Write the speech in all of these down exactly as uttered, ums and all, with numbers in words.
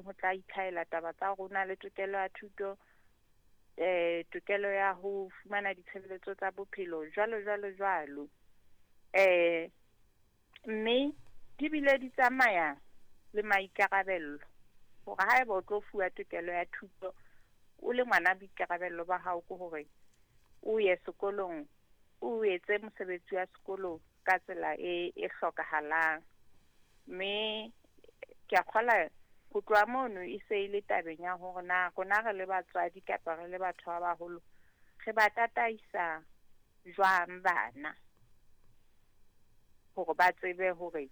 teng ho tla itlhahela taba tsa rona le tokelo ya thuto, eh tokelo ya ho fumana ditshebeletso tsa bophelo jwalo jwalo jwalo. Eh mme di bile di tsamaya le maikarabelo hore haeba o tlo fuwa tokelo ya thuto o le ngwana, boikarabelo ba hao ke hore o ye sekolong, o etse mosebetsi wa sekolo ka tsela e e hlokahalang. Mme ke a kgola ho tloha mono e se e le tabeng ya hore na rona re le batswadi kapa re le batho ba baholo re ba tataisa jwang bana hore ba tsebe hore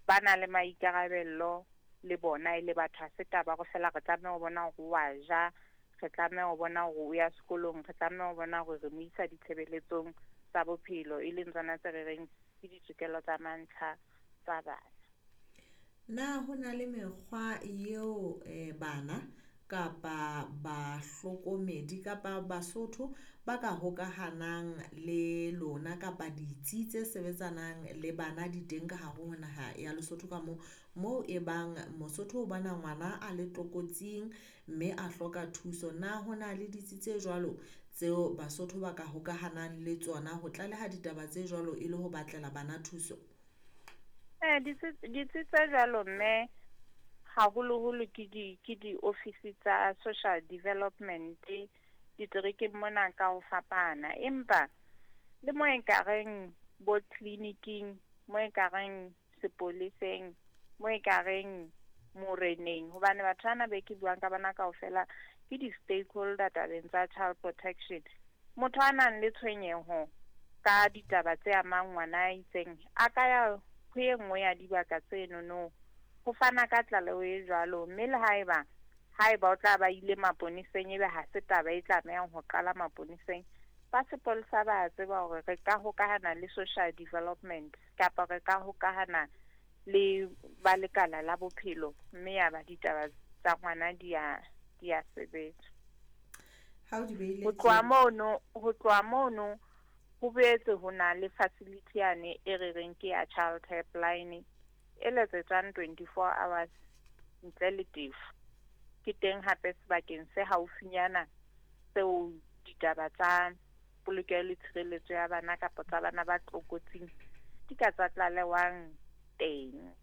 ba na le maikarabelo le bona e le batho. Ha se taba hore feela re tlameha ho bona hore wa ja, re tlameha ho bona hore o ya sekolong, re tlameha ho bona hore re mo isa ditshebeletsong tsa bophelo, e leng tsona tse re reng ke ditokelo tsa mantlha tsa bana. Na ho na le mekgwa eo eh, bana kapa bahlokomedi kapa Basotho ba ka hokahanang le lona kapa ditsi tse sebetsanang le bana di teng ka hare ho naha ya Lesotho ka moo, moo e bang Mosotho o bona ngwana a le tlokotsing mme a hloka thuso? Na ho na le ditsi tse jwalo tseo Basotho ba ka hokahanang le tsona ho tlaleha ditaba tse jwalo e le ho batlela bana thuso? Eh ditsi ditsi tse jwalo mme haholoholo ke di ke di-office tsa social development diterekeng mona ka ho fapana, empa le mo ekareng bo clinic-ing, mo ekareng sepoleseng, mo ekareng moreneng, hobane batho bana be ke buang ka bona kaofela ke di-stakeholder tabeng tsa child protection. Motho a nang le tshwenyeho ka ditaba tse amang ngwana a itseng a ka ya ho e nngwe ya dibaka tsenono ho fana ka tlaleho e jwalo. Mme le haeba haeba o tla ba ile maponeseng, ebe ha se taba e tlamehang ho qala maponeseng, ba sepolesa ba tseba hore re ka hokahana le social development kapa re ka hokahana le ba lekala la bophelo, mme ya ba ditaba tsa ngwana di a di a sebetsa. Ha o di behile Ho tloha mono, ho tloha mono ho boetse ho na le facility yane e re reng ke ya child helpline e letsetswang twenty-four hours ntle le tefo. Ke teng hape sebakeng se haufinyana seo ditaba tsa polokeho le tshireletso ya bana kapa tsa bana ba tlokotsing di ka tsa tlalewang teng.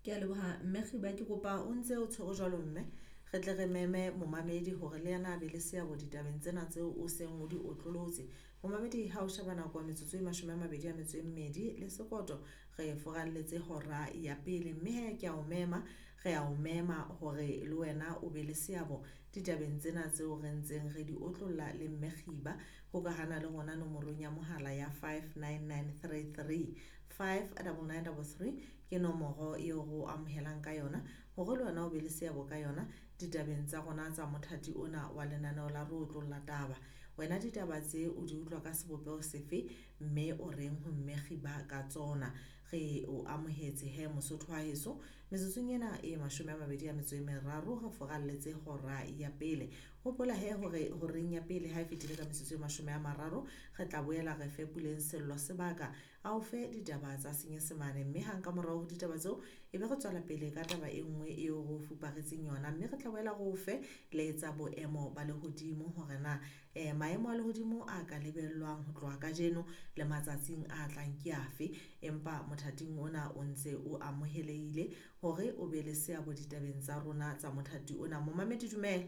Ke a leboha mme Kgiba, ke kopa o ntse o tshwere jwalo mme re tle re meme momamedi hore le yena a be le seabo ditabeng tsena tseo o seng o di otlolotse. Momamedi, ha o sheba nako ya metsotso e mashome a mabedi a metso e mmedi le sekoto, re foralletse hora ya pele, mme he ke a o mema, re a o mema hore le wena o be le seabo ditabeng tsena tseo re ntseng re di otlolla le mme Kgiba. Hokahana le rona nomorong ya mohala ya five nine nine three three five double nine double three ke nomoro eo re o amohelang ka yona hore le wena o be le seabo ka yona ditabeng tsa rona tsa mothati ona wa lenaneo la re otlolla taba. Wena ditaba tse o di utlwa ka sebopeho sefe mme o reng ho mme Kgiba ka tsona? Re o amohetse he Mosotho wa heso. Metsotsong ena e mashome a mabedi a metso e meraro re foralletse hora ya pele. Hopola he hore horeng ya pele ha e fetile ka metsotso e mashome a mararo re tla boela re fe Puleng Sello sebaka a o fe ditaba tsa Senyesemane, mme hang ka morao ho ditaba tseo e be re tswela pele ka taba e nngwe eo re o fuparetseng yona, mme re tla boela re o fe le tsa boemo ba lehodimo hore na eh, maemo a lehodimo a ka lebellwang ho tloha kajeno le matsatsing a tlang ke afe. Empa mothating ona o ntse o amohelehile hore o be le seabo ditabeng tsa rona tsa mothati ona. Momamedi, dumela.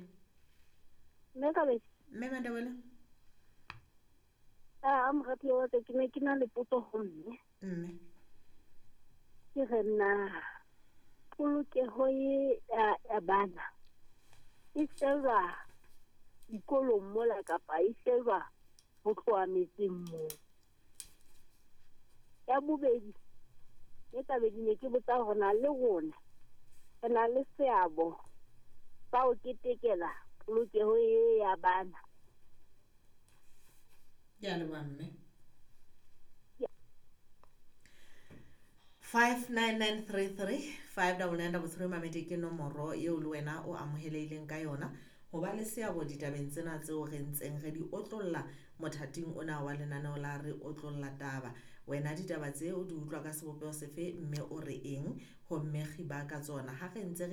Mme Kabese. Mme Mandebele. A morati wa ka, ke ne ke na le potso ho mme. Mme. Ke re na polokeho e ya, ya bana e sheba dikolong mola kapa e sheba ho tloha metseng moo? Ya bobedi, e tlabe ne ke botsa hore na le rona re na le seabo sa ho ketekela polokeho e ya bana. Ke a leboha mme. five nine nine three three five double nine double three mamedi ke nomoro eo le wena o amohelehileng ka yona ho ba le seabo ditabeng tsena tseo re ntseng re di otlolla mothating ona wa lenaneo la re otlolla taba. Wena ditaba tse o di utlwa ka sebopeho sefe mme o re eng ho mme Kgiba ka tsona? Ha re ntse re